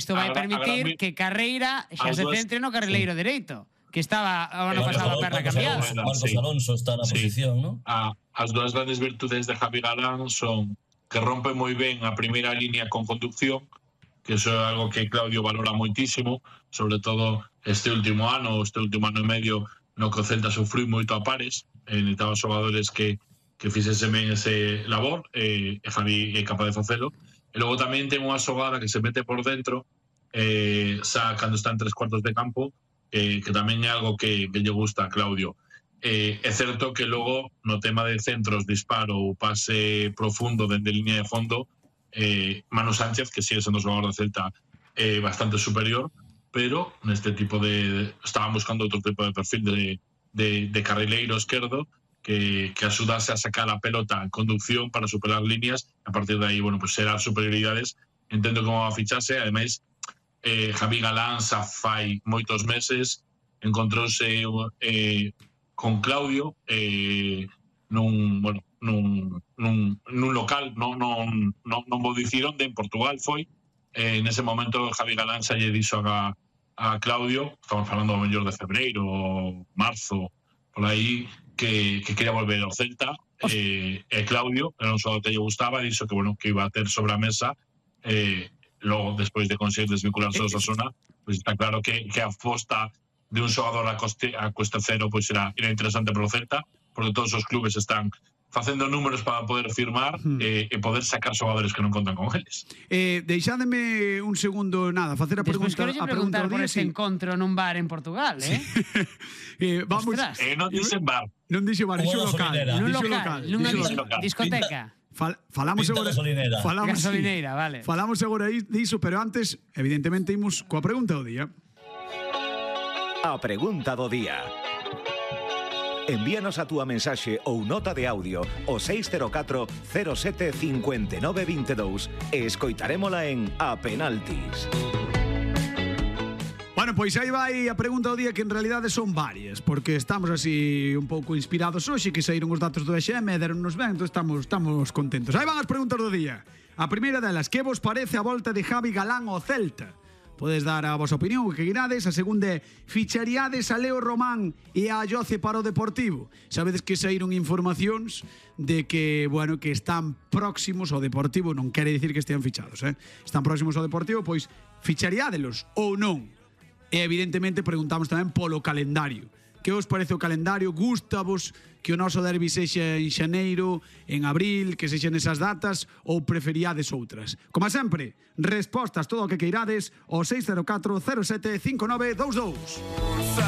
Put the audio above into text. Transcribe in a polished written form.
Isto vai permitir que Carreira xa se centre no carrileiro dereito, que estaba o ano pasado a perna cambiada. Marcos Alonso está na posición, ¿no? As dúas grandes virtudes de Javi Galán son que rompe moi ben a primeira línea con conducción, que eso é algo que Claudio valora moitísimo, sobre todo este último ano e medio, no que o Celta sufriu moito a pares, necesitaba xogadores que fixese ben ese labor, e Javi é capaz de facelo. E logo tamén ten unha xogada que se mete por dentro, xa cando está en 3/4 de campo, que tamén é algo que lle gusta a Claudio. É certo que logo no tema de centros, disparo ou pase profundo dende línea de fondo, Manu Sánchez, que sigue sendo o xogador do Celta, é bastante superior, pero neste tipo de... estaban buscando outro tipo de perfil de carrileiro esquerdo que axudase a sacar a pelota en conducción para superar líneas, a partir de aí, bueno, pues será superioridades. Entendo como va a ficharse, ademais Javi Galán xa fai moitos meses encontrouse con Claudio nun local, non vou dicir onde, en Portugal foi. En ese momento Javi Galán xa lle dixo a Claudio, estamos falando ao mellor de febreiro ou marzo, por aí, que quería volver ao Celta. Claudio, era un xogador que lle gustaba, dixo que, bueno, que iba a ter sobre a mesa. Logo, despois de conseguir desvincularse ao Osasuna, pois está claro que a aposta de un xogador a coste cero pois era interesante para o Celta, porque todos os clubes están facendo números para poder firmar e poder sacar xogadores que non contan con eles. Deixádeme un segundo, nada, facer a pregunta. Despois quero preguntar por ese encontro nun bar en Portugal, vamos. Non dixen bar. Non dixen bar, dixo local. Nunha discoteca. Falamos agora gasolineira, vale. Falamos agora diso, pero antes, evidentemente, imos coa pregunta do día. A pregunta do día. Envíanos a túa mensaxe ou nota de audio ao 604 07 59 22 e escoitarémola en A Penaltis. Bueno, pois aí vai a pregunta do día, que en realidade son varias, porque estamos así un pouco inspirados hoxe, que saíron os datos do EXM e deronnos ben, entón estamos contentos. Aí van as preguntas do día. A primeira delas, que vos parece a volta de Javi Galán ao Celta? Podes dar a vosa opinión, o que queirades. A segunda, ficharíades a Leo Román e a Ayoce para o Deportivo? Sabedes que saíron informacións de que, bueno, que están próximos ao Deportivo, non quere dicir que estean fichados, están próximos ao Deportivo, pois ficharíadelos ou non? E evidentemente preguntamos tamén polo calendario. Que os parece o calendario? Gústavos que o noso derbi sexa en xaneiro, en abril, que sexan esas datas, ou preferíades outras? Como sempre, respostas todo o que queirades ao 604 07 59 22.